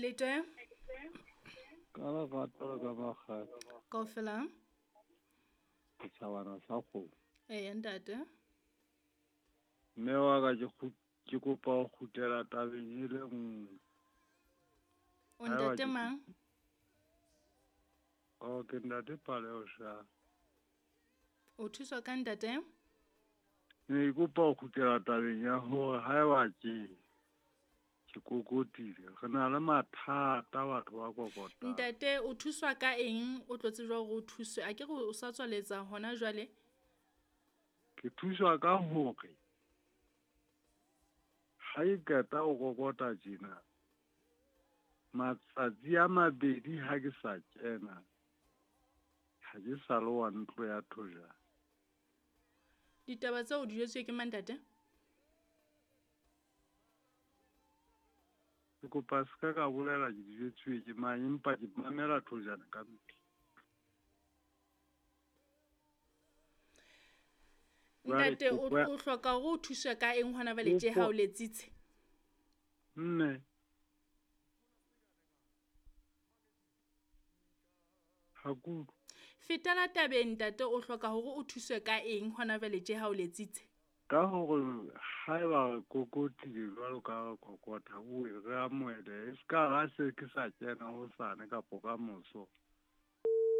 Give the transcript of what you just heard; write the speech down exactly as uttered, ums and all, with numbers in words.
Le teng? Ka lerato le ka makgapha. Kaofela. Setjhabana sa kgomo. Eya ntate. Mme wa ka ke ke kopa ho kgutlela tabeng e le nngwe. O ntate mang? Oh, ke ntate Paleo sha. O thuswa ka ntate? Ne ke kopa ho kgutlela tabeng ya hore haeba ke ke kokotile, re na le mathata batho ba kokotang. Ntate o thuswa ka eng? O tlo tsejwa hore o thuswe. A ke re o sa tswaletsa hona jwale? Ke thuswa ka hore ha ke qeta ho kokota tjena, matsatsi a mabedi ha ke sa kena, ha ke sa le wa ntlo ya thojana. Ditaba tseo o di jwetsuwe ke mang ntate? Ke kopa se ka ka bolela ke di jwetsuwe ke mang, empa ke mamela thojana ka mehla. Ntate o o hloka hore o thuswe ka eng hona jwale tje ha o letsitse? Mme. Ha ke utlwe. Fetela tabeng ntate, o hloka hore o thuswe ka eng hona jwale tje ha o letsitse? Ka hore haeba re kokotile jwalo ka ha re kokota, o re amohele. E ska ha se ke sa kena hosane kapo ka moso.